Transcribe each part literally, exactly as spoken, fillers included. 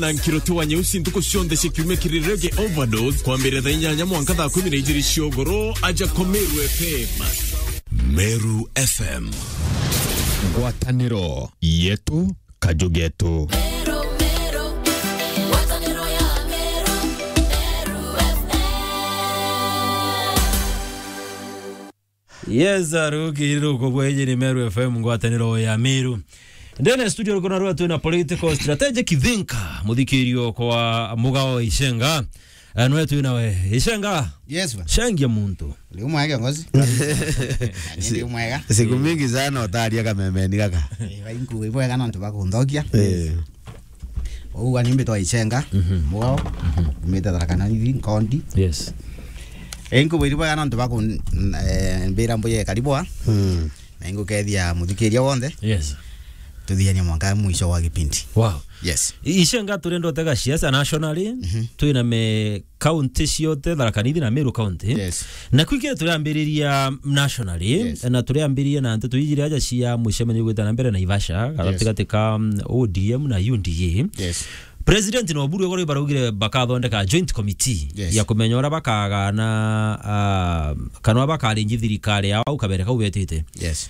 Na Nkiroti wa Nyeusi ntuku cionthe cia kiumia kiri Reggae Overdose, kwambiriria thaa inyanya mwanka thaa kumi na ijiri cia ugoro, aja kwa Meru F M. Meru F M. Ngwataniro yetu, kaju getu. Meru, Meru, ngwataniro ya Meru, Meru F M. Yes, aruki ruko bweje ni Meru F M, ngwataniro ya Meru. Ndene studio ruko na rwa twina political strategic thinker, muthikirio kwa Mugao Icenga. Eh, nwe twina we. Icenga. Yes, bwana. Cengia muntu. Uri umwega, ngozi. Ani ndi umwega. Siku mingi sana utaria kamemeni gaka. Eh, bainku ibwega nontu bakundhokia. Eh. Ugwa ni mbitwa Icenga, Mugao, umite Tharaka Nithi, Nkondi. Yes. Inkubu iri bwega nontu baku, eh, mbira mbuye karibu a. Mm. Na ingukethia muthikiria wonthe. Yes. Tuthiania mwanka mwisho wa gipindi. Wow. Yes. I-, Icenga turenda utega siasa nationally, twina me county ciothe, Tharaka Nithi na Meru County. Yes. Na kwikire turiambiriria nationally, Yes. na turiambiriria na nteto ijiri aja cia mucemanio gwita na mbere Naivasha, Yes. gatatigati ka, mm, O D M na U D A. Yes. President na Oburu igoro baraugire bakathondeka joint committee Yes. ya kumenya uria bakagana, ah, kana uria bakaringi thirikari yao kabere kau betite. Yes.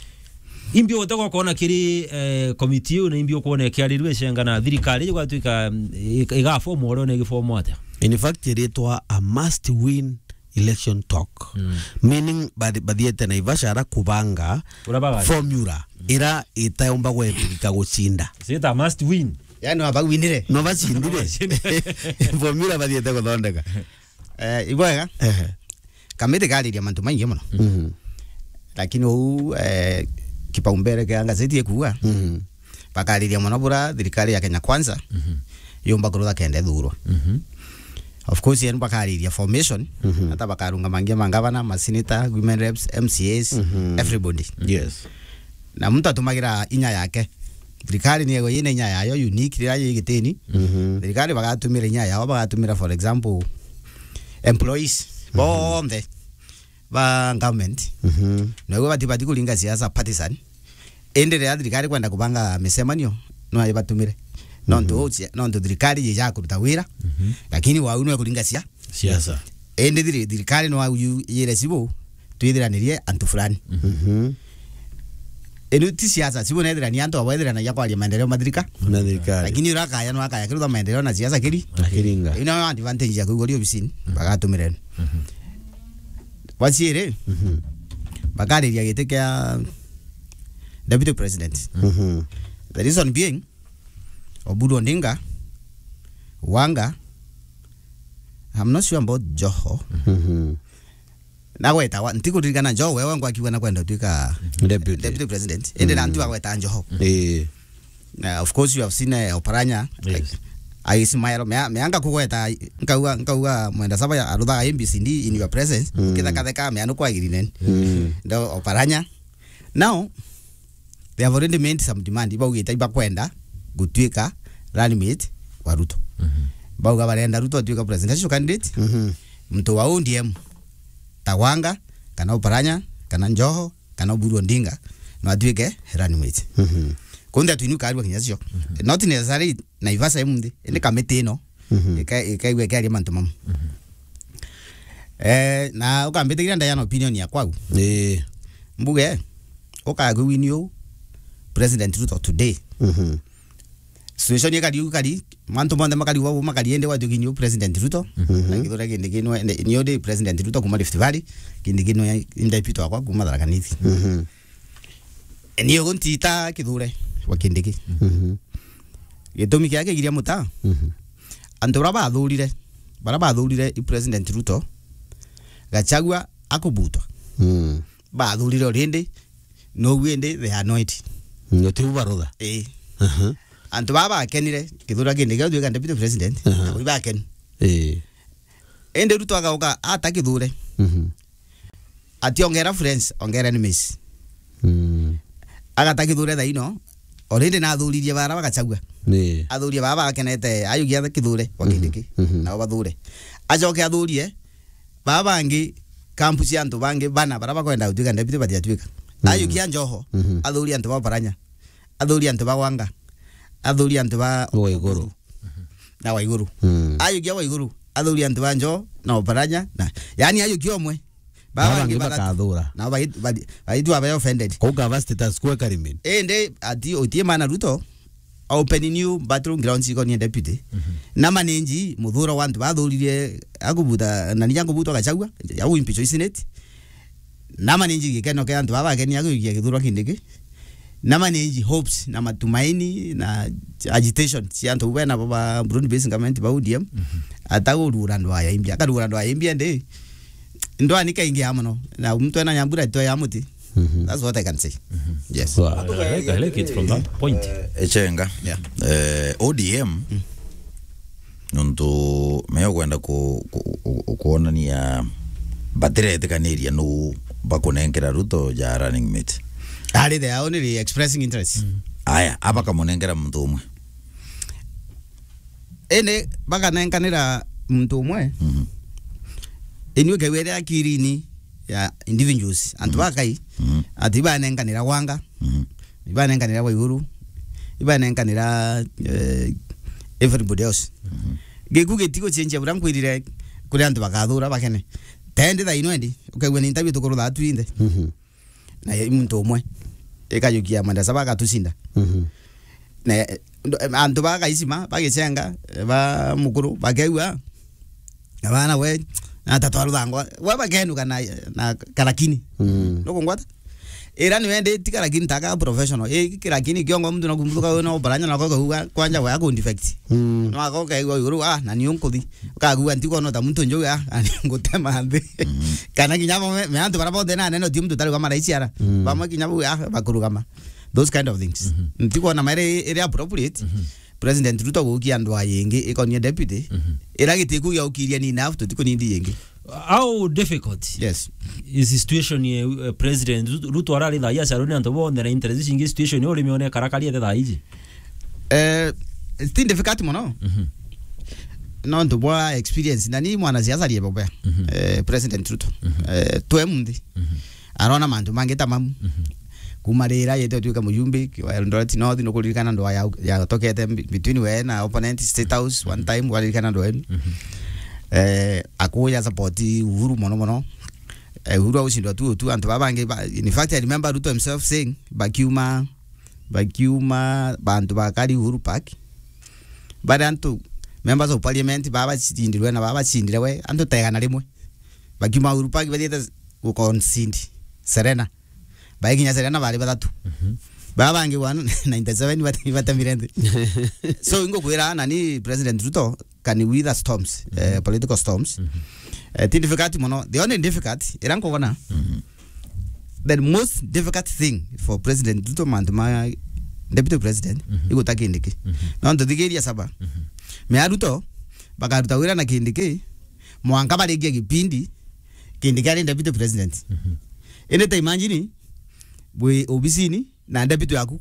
Imbi utegwa kuona kiri, eh, committee iu na imbi ukuona ikiarirua Icenga na thirikari igwatuika, mm, ig-, igaform uria na igiform atia? In fact, iritwa a must win election talk. Mm. Meaning, bathi-, bathiete Naivasha ara kubanga Uria bagari. Formula ira itaumba gwepirika gucinda. Sita must win. Yani, wabawinire. No bacindire. Formula bathiete guthondeka. Eh, ibwega. Ehe. Kamiti kariria mantu maingi mono. Mhm. Lakini uu, eh, kipaumbele kia ngazeti ikuuga, Mhm. bakariria mono bura thirikari ya Kenya Kwanza yumba kurutha kenda ithurwa. Mhm. Of course, yani bakariria formation, Mhm. hata bakarungamangia mangavana, maseneta, women reps, M C As, Mhm. everybody. Yes. Na muntu atumagira inya yake. Thirikari ni ego yina inya yayo unique rira yi gitini. Mhm. Thirikari bagatumira inya yao, bagatumira, for example, employees Mhm. bonthe ba government. Mhm. Na igo bati, bati kuringa siasa partisan. Indi riria thirikari kwenda kubanga micemanio, no ibatumire. Nontu Mhm. ucia-, nontu thirikari yija kuruta wira, Mhm. lakini wau no ikuringa sia-, Siasa. Indi thiri-, thirikari no au yu-, yire cibu, twithiranirie antu fulani. Mhm. Inu ti siasa, cibu nethirania antu abo ethiranagia kwaria maendeleo ma thirika-, Na thirikari. Lakini uria akaya no akaya kirutha maendeleo na siasa kiri. Akiringa. Ino advantage ya kuigwa rio obisini, bagatumire. Mhm. Bwa ciiri, Mhm. bakariria giti kia deputy president. Mhm. The reason being, Oburu Odinga, Wanga, I'm not sure about Joho. Mhm. Nagweta wa, ntikuririkana Joho, wewe ngwakiuga nakwenda utuika Deputy. Deputy president. Indi na Mm. ntu agweta Joho. Eh. Na of course you have seen, eh, Oparanya. Yes. I smile. Mea, mea ngakugweta, nkauga, nkauga Mwenda Saba ya aruthaga A B C D in your presence. Mm. Kithakatheka, mea nukwagirine. Mm. Ndo Oparanya. Now, they have already made some demand. Ibaugite ibakwenda gutuika running mate wa Ruto. Mhm. Bauga barenda Ruto atuika presidential candidate. Mhm. Muntu wa O D M, ta Wanga, kana Oparanya, kana Joho, kana Oburu Odinga, no atuike running mate. Mhm. Kundi atwini ukarua kinya cio. Mhm. Not necessarily Naivasha imunthi, indi kamiti ino, Mhm. ika-, ikaigua ikiaria mantu mamu. Mhm. Eh, na ukambitikiria ndayana opinion ya kwau. Ii. Mbuge, ukagwini u President Ruto today. Mhm. Situation ikari u kari, mantu monthe makari u, makari ende watu kinyu President Ruto. Mhm. Na kithura kindi kinu, ni ode President Ruto kuma Rift Valley, kindi kinu ya, indepito akwa kuma Tharaka Nithi. Mhm. Ni ugu ntita kithure wa Kindiki. Mhm. Gitumi kia kigiria muta. Mhm. Antu bara bathurire, bara bathurire i President Ruto, Gachagua akubutwa. Mm. Bathurire already, no wi indi they are annoyed. No tiu barutha. Eh. Aha. Antu baba bakenire, kithura kindi kia tuika deputy president, Aha. na bakeni. Eh. Indi Ruto agauka ata kithure. Mhm. Ati ongera friends, ongera enemies. Mm. Agata kithure thaino, already na athuririe bara bagachagua. Ni. Athurie baba bakenete, ayugia kithure, wa Mhm. Kindiki, Mhm. nao bathure. Acoke athurie, baba bangi, kampu cia antu bangi, bana, bara bakwenda gutuika deputy batiatuika. Mhm. Ayukia Joho, Mhm. athurie antu ba Oparanya, athurie antu ba Wanga, athurie antu ba Wa iguru. na Waiguru. Mm. Ajukia Waiguru, athuri antu ba Njoo na Oparanya, na, yani ajukia omwe. Baba bangi bangi bakathatu. Bakathura. Na bai-, bai-, baitu abe offended. Kau kaba status quo ekari min. Indi ati utie mana Ruto, opening new battlegrounds ikonie deputy. Mhm. Na manage muthuro wa antu bathurire akubuta, na ninya kubuta Gachagua, ya impeach Senate. Na manage gikeno kia antu baba bakenia kuikia githurwa Kindiki. Na manage hopes na matumaini na agitation cia antu bena ba broad based government ba O D M. Mhm. Atagurura ndwaya imbia, akarura ndwaya imbia ndi. Ndwani kaingi ya muno. Na mtu ena nyambura ito ya muti. Mhm. That's what I can say. Mhm. Yes. Wow, I like, I like it from that point. Eh, Echenga. Yeah. Eh, O D M, mm, nontu meo kwenda ku-, ku-, ku-, kuonania batiretikaniria nu bakunenkera Ruto ja running mate. Ari the only expressing interest. Mm. Aya, abakamunengera muntu umwe. Indi bakanenkanira muntu umwe. Mhm. Inui kewere akirini ya individuals, antu, mhm, bakai, mhm, ati ibanenkanira Wanga, mhm, ibanenkanira Waiguru, ibanenkanira, eh, everybody else. Mhm. Giku gitigucenjia buria nkwirire kuri antu bakathura bakene. Tendi thaino endi, ukaigua ni interview tukurutha atu inthe. Mhm. Na i muntu umwe. Ikajukia Mwenda Saba agatucinda. Mhm. Na, eh, ndo-, em, antu ba Gaicima, ba Gicenga, eh, ba Mukuru, bakegua, na bana we, na tatu aruthangwa, we bakenuka na, na karakini. Mm. Nukungwata? Ira ni wendi ti karakini taka professional. Ii, karakini kiongo muntu na kumuthuka we no baranya na koka uga kwanja we akundefect. Mm. No akoka igwa iguru, ah, na niyo nkuthi. Ukagua ntikwona ta muntu njuga, ah, ani ngutema nthi. Mhm. Kana kinya bo me, me antu bara bonthe na neno ti muntu tari kwa maraiciara. Mm. Bamwe kinya bu, ah, bakurugama. Those kind of things. Mhm. Ntikwona maere iri appropriate. Mhm. President Ruto gukia andu ayingi ikonie deputy. Mhm. Ira gitiku gia ukiria ni enough, tutikunindi yingi. How difficult, yes, is the situation ye, uh, President Ruto, Ruto arari thaa ii acarwe ni antu bonthe na interest cingi, situation uri mione karakari ete thaa iji? Eh, it's still difficult mono. Mhm. Nontu bwa experience, na ni mwanasiasa rie bobea. Mhm. Eh, President Ruto. Mhm. Eh, twe munthi. Mhm. Arona mantu mangi ta mamu. Mhm. Kuma rira yete utuika mujumbe wa Eldoret North, nukuririkana ndwa ya, ya tokete mbi-, between we na opponent State House one time, waririkana ndwa enu. Mhm. Eh, akuya support Uhuru mono mono. Eh, Uhuru aucindwa tu tu, antu baba bangi ba, in fact, I remember Ruto himself saying, bakiuma, bakiuma bantu bakari Uhuru Park, bari antu members of parliament baba bacindirwe na baba bacindire we, antu tegana rimwe. Bakiuma Uhuru Park bathiete guconcede Serena. Baikinya Serena bari bathatu. Mhm. Baba bangi one ninety seven bate-, batemire nthi. So, ingukwira, na ni President Ruto can weather storms, eh, mhm, political storms. Mhm. Eh, ti difficult mono. The only difficult, ira nkugona, mhm, the most difficult thing for President Ruto, mantu ma Deputy President, mhm, iguta Kindiki. Mhm. Nontu thigiria saba. Mhm. Mea Ruto, bakaruta wira na Kindiki, mwanka barikia gipindi, Kindiki ari Deputy President. Mhm. Indi ta imagine, bwi obisini, na deputy yaku.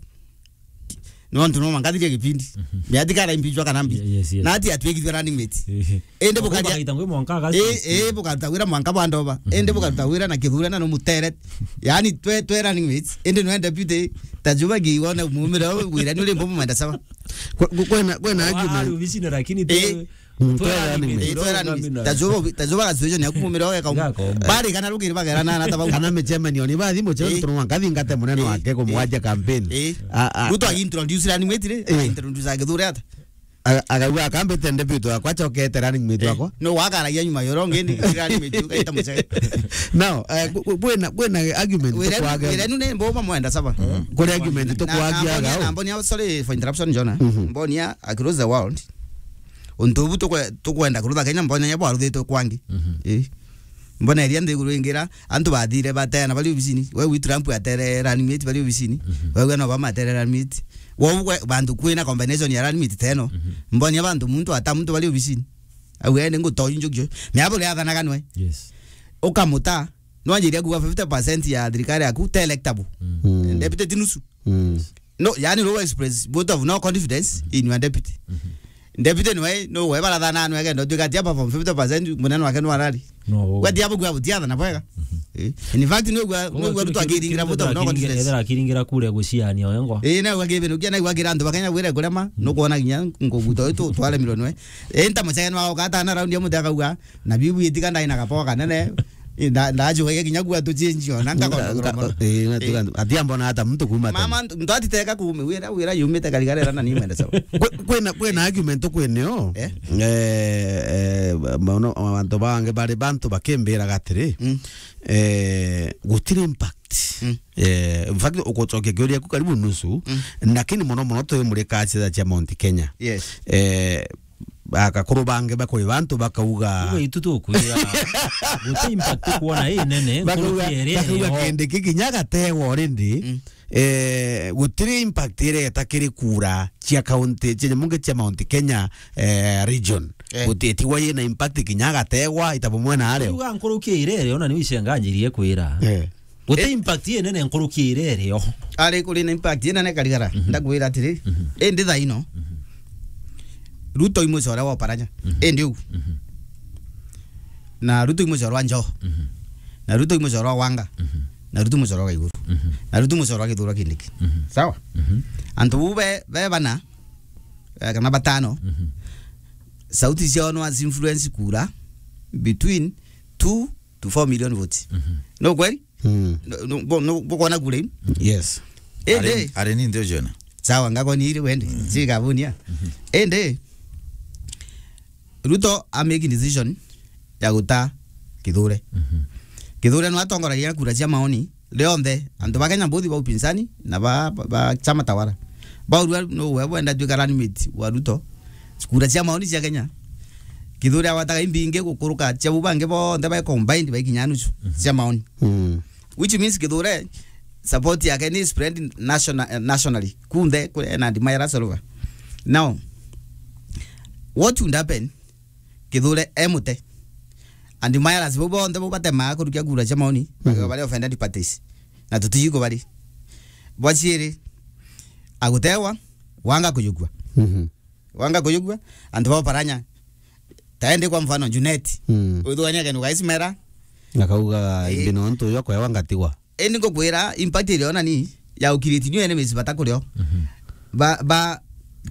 Nontu no mwanka thiria gipindi. Mhm. Ni atikara impeachwa kana mbi. Ye-, yes, yes. Na ati atwikithwe running mate. Ehe. Indi bukaria bakaita ngwi mwanka aga eh, eh, bukaruta wira mwanka bwa ndoba. Mhm. Indi bukaruta wira na kithurana no mutere. Yani twe, twe running mates. Indi no deputy. Tajuba gi wona mumira wira ni uri mbo Mwenda Saba. Kwe-, kwe-, kwena, kwena argument. Ari obisini lakini eh, te Mm, twera running mate. Eh, twera running mate. Tajuba, tajuba ga situation ya kumumira oge kauma. Bari kana rugiri bagera na na tabau. Kana me chairman oni bathi mo chairman, eh, tuno ngathi ngate munene wake kumwaja campaign. Eh. A, a, Ruto a- agi introduce running mate ri, eh, introduce agithure ata? A-, akauga akambite deputy wakwa, acokete running mate wakwa. No wakaragia nyuma yoro ngendi running mate ugaita mucege. Now, eh, bu-, bu-, bwena, bwena argument. Wira, tukwage- wira nu ne mbo Mwenda Saba. Kuri argument tukwagia gau. Na mbonia, sorry for interruption, Jonah. Mhm. Mbonia across the world. Untu bu tukwe-, tukwenda kurutha Kenya, mbona nya bwaruthitwe kwangi. Mhm. Eh. Mbona iria nthiguru ingira, antu bathire bateana bari obisini. We wi Trump atere running mate bari obisini. Mhm. We, we no Obama atere running mate. Wo we, bantu kwina combination ya running mate teno. Mhm. Mbona bantu muntu ata muntu bari obisini. Au ene ngutoji njukio. Mea bure athanaga nwe. Yes. Ukamuta, no anjiria kuga fifty percent ya thirikari yaku te electable. Mm. Mm. Deputy ti nusu. Mm. No, yani, no express vote of no confidence in your deputy. Mhm. Deputy nwe, no, we barathana nwe, kendo tuika tia perform fifty percent, munene wake no arari. No. We tia bugua butiathana bwega. Mhm. Eh. In fact, nigua, nigua Ruto akiringira vote, no, akiringira, ethera akiringira kure guciania oyo ngo. Eh, na akibinukia, na akiringira antu bakenya gwire kurema, nukwona kinya nguguta uyu tu-, twaremirwe nwe. Eh, nta mucene wa ukata na round ya muti akauga, na biu bwitiga ndai na gapoa kanene. Eh, nda-, ndajugagia kinya gua tu change ona, nka-, nka-, eh, ati ambona hata mtu kuma tena. Mama, muntu atiteka kume, wira, wira yumite karigara na ni mwende sawa. Kwe-, kwina, kwina argument kwinio. Eh? Eh, eh, maono, antu bangi bari bantu bakimbira gatiri. Mm. Eh, gutiri impact. Mm. Eh, in fact, ugucokia kiuria ku karibu nusu, mm, lakini mono mono twi muri kaciatha cia Mount Kenya. Yes. Eh, akakuru bangi bakuri bantu bakauga, iwe itu tukwira, guti impact kwona ii nene, bakauga, nkuruki iri bakauga iri o. Kindiki kinya gategwa already. Mm. Eh, gutiri impact ireta kiri kura cia county, cia nyamunge cia Mount Kenya, eh, region. Eh. Guti, tigwa yina impact kinya gategwa, ita bumwe na areo. Uga nkuruki iri iri, ona ni wicenganjirie kwira. Eh. Guti, eh, impact inene nkuruki iri iri o. Ari kuri na impact inene karigara. Mhm. Ndakwira atiri, mhm, indi thaino. Mhm. Ruto i mucore wa Oparanya. Mhm. Indi u. Mhm. Na Ruto i mucore wa Njo. Mhm. Na Ruto i mucore wa Wanga. Mhm. Na Ruto i mucore wa Iguru. Mhm. Na Ruto i mucore wa Kithure Kindiki. Mhm. Sawa? Mhm. Antu bu be, be bana, eh, kana batano. Mhm. Sauti ciao no influence kura between two to four million votes. Mhm. No kweli? Mm. No, no, bo-, no, bukona kura iu? Yes. Indi ari, ari ni ndio jona. Sawa, ngakoni iri wende. Mhm. Sigabunia. Mhm. Indi, Ruto a make decision ya guta Kithure. Mhm. Kithure no atongoragia kura cia maoni rionthe, antu ba Kenya both ba upinzani na ba, ba, ba chama tawala. Baurua no we bwenda tuika running mate wa Ruto. Kura cia maoni cia Kenya, Kithure agwataga imbingi gukuruka cia bu bangi bonthe ba combined baikinya nusu, mhm, cia maoni. Mm. Which means Kithure support yake ni spread national, eh, nationally. Kunthe kuri ena Andy Myers Solva. Now, what would happen? Kithure e mute. Andy Myers bau bonthe bau batemaa kurukia kura cia maoni, mhm, bakaba bari offended parties. Na tutiji kubari. Bwa ciiri, agutewa, Wanga kujukua. Mhm. Wanga kujukua, antu ba Oparanya. Taende kwa mfano Junet. Mm. Withugania kenu gaismera. Akauga, eh, imbino ntu yo kwewa ngatigwa. Indi ngukwira impact iria ona ni ya ukiriti new enemies bata kurio. Mhm. Ba, ba,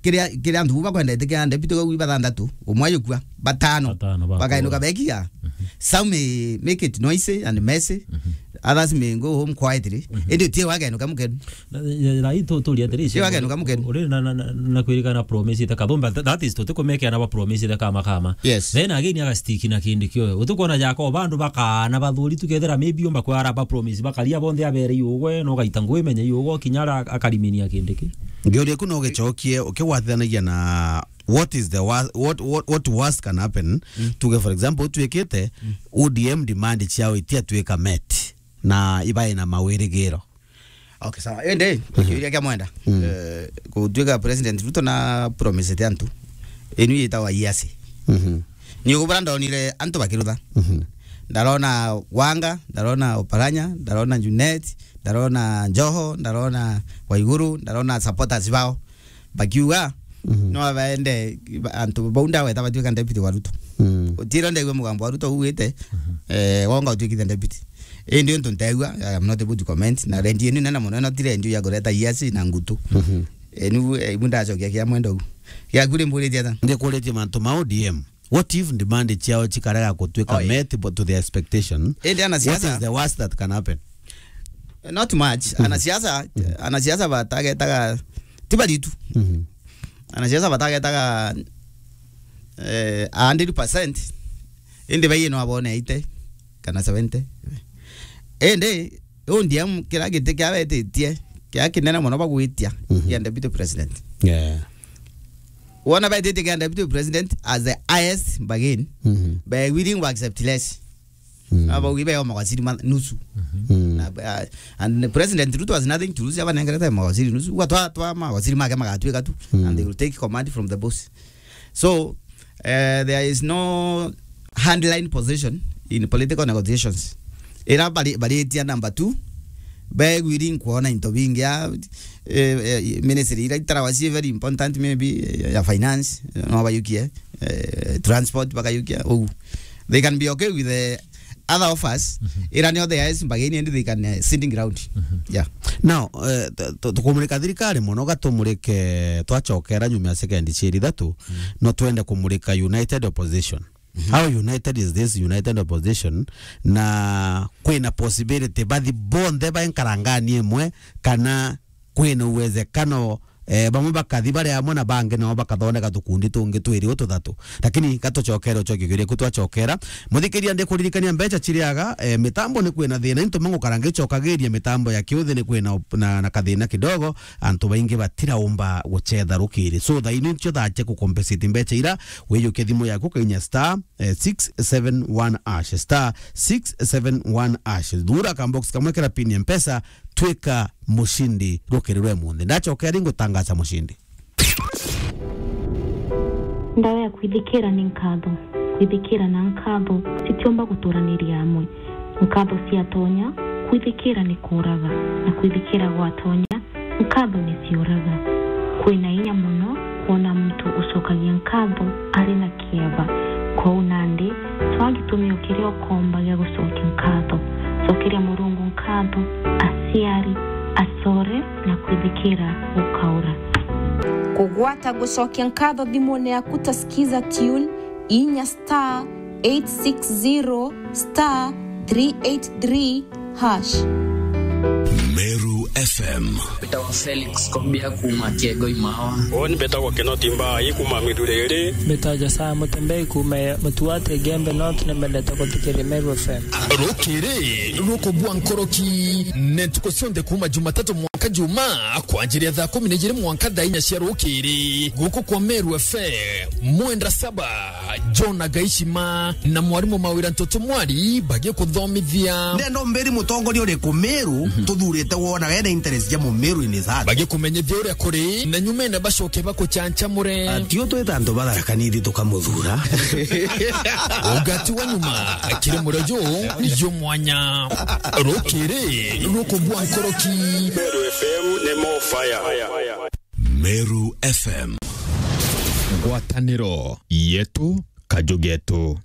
kiria, kiria antu bu bakwendete kia deputy gau bathanthatu, umwe ayukua, batano. Batano bakua. Bakainuka bekiga. Mhm. Some may make it noisy and messy. Mhm. Others may go home quietly. Mhm. Indi utie wakenuka mukenu. Na, na, na, rai tu-, turia atiri, ti wakenuka mukenu. Uri na, na, na, na kwirikana promise ite kathumba, th-, that is, tutikumekea na ba promise ite kama kama. Yes. Then again, agastick na kindi kio. Utukwona jako, bandu bakana bathuri tukethira maybe umba kwara ba promise, bakaria bonthe abere iugwe, no gaita ngui menye iugwe, kinya ara akariminia kindi ki. Ngiuria ku no gicokie, ukigwatithanagia na what is the wor-, what, what, what worst can happen? Mm. Tuge, for example, utwikite, mm, O D M demand ciao itiatuika met, na ibae na mawirigiro. Okay, sawa. Indi, mhm, kiuria kia mwenda. Mm. Eh, gutuika President Ruto na promisete antu. Inu yitagwa iasi. Mhm. Ni ugubura ndonire antu bakirutha. Mhm. Ndarona Wanga, ndarona Oparanya, ndarona Junet, ndarona Joho, ndarona Waiguru, ndarona supporters bao. Bakiuga, mhm, no abaende, ba-, antu bau ndaweta batuika deputy wa Ruto. Mm. Utiro ndaigua mugambo wa Ruto ugite, mhm, eh, Wanga utuikite deputy. Indi untu ntaigua, I am not able to comment. Na rendi inu nene muno, ino ti rendi ya kureta iasi na ngutu. Mhm. Inu, eh, ibu ndacokia kia mwenda u. Giaku ri mburitie ata? Ndikuritie mantu ma O D M. What if demand ciao cikarega kutuika, oi, met but to the expectation? Indi ana siasa, what is the worst that can happen? Not much. Mhm. Ana siasa, mhm, ana siasa batagetaga, ti baritu. Mhm. Ana siasa batagetaga, eh, a hundred percent. Indi baiye no abone eighty kana seventy. Indi O D M kira giti kia betitie, kia kinene mono bagwitia, mhm, kia deputy president. Yeah. Wona betitie kia deputy president as the highest bargain, mhm, be willing to accept less. Mm. Aba ugi be o mawaziri ma nusu. Mm. Na, uh, and the President Ruto has nothing to lose, abanengerete mawaziri nusu. Uga twa, twa mawaziri make magatuika tu, mm, and they will take command from the boss. So, uh, there is no handline position in political negotiations. Ira bari-, baritia number two, begwiri nkwona into bingi ya, eh, eh, ministry ira itarawa cie very important, maybe, eh, ya finance, no bayukie, eh, transport bakayukia, ugu. They can be okay with the other offers, ira ni other is mbagini ndi they can, eh, sitting ground. Yeah. Now, eh, tu-, tu-, tukumurika thirikari mono, gatumurike twachokera nyuma ya sekendi ciiri ithatu, no twende kumurika united opposition. How united is this united opposition? Na kwina possibility bathi bonthe baenkara ngani imwe, kana kwina uwezekano, eh, bamwe bakathi bari amwe na bangi nao bakathondeka tukundi tungi twiri ututhatu. Lakini gatucokere ucokie kiuria ku twacokera. Muthikiria, ndikuririkania mbeca ciriaga, eh, mitambo ni kwina thina, into mangu karangi cokagiria mitambo ya kiuthi ni kwina op-, na, na kathina kidogo, antu baingi batiraumba gucetha rukiri. So, thaa ino ncio thaa cia kucompensate mbeca ira, wiyukie thimu yaku kainya star, eh, six seven one hash, star six seven one hash. Thura ka box kamwe kira pin ya Mpesa, twika mucindi rukiri rwa imunthi. Ndacokera ringi gutangaza mucindi. Ndawa ya kwithikira ni nkatho. Kwithikira na nkatho citiumba guturaniria amwe. Nkatho ciatonya, kwithikira ni kuuraga, na kwithikira gwatonya, nkatho ni ciuraga. Kwina inya mono kwona muntu ucokagia nkatho ari na kieba. Kwou nandi, twaa gitumio kiria ukomba gia gucokia nkatho. Cokeria Murungu nkatho, aciari, acore, na kwithikira gukaura. Kugwata gucokia nkatho thimune yaku ta Skiza Tune, inya star eight six zero star three eight three hash. Meru F M. Mbetawa Felix Kobia kuuma Kiego Imawa. Uni mbetagwa Kinoti Mbai kuuma Mithuriri. Mbetawa Josiah Mutembei kuuma Mutuate Igembe North, ni mbendete kuthikiria Meru F M. Rukiri rukubua nkoroki ni ntuku cionthe kuuma Jumatatu mwanka Juma, kwanjiria thaa kumi na ijiri mwanka thaa inya cia rukiri, guku kwa Meru F M. Mwenda Saba, John Agaishima na mwarimu Mawira Ntoto Mwari bagikuthomithia. Ndenda umbiri mutongoria uriku Meru tuthurite wonaga ena interest ja Mumeru in his heart. Bagikumenyithia uria kuri, na nyumene bacoke bakuchanchamure. Atio twita antu batharakanithi tukamuthura. Ugati wa nyuma kiri murejo jumwanya. Rukiri rukubua nkoroki. Meru F M ni more fire. Meru F M. Ngwataniro yetu, kaju getu.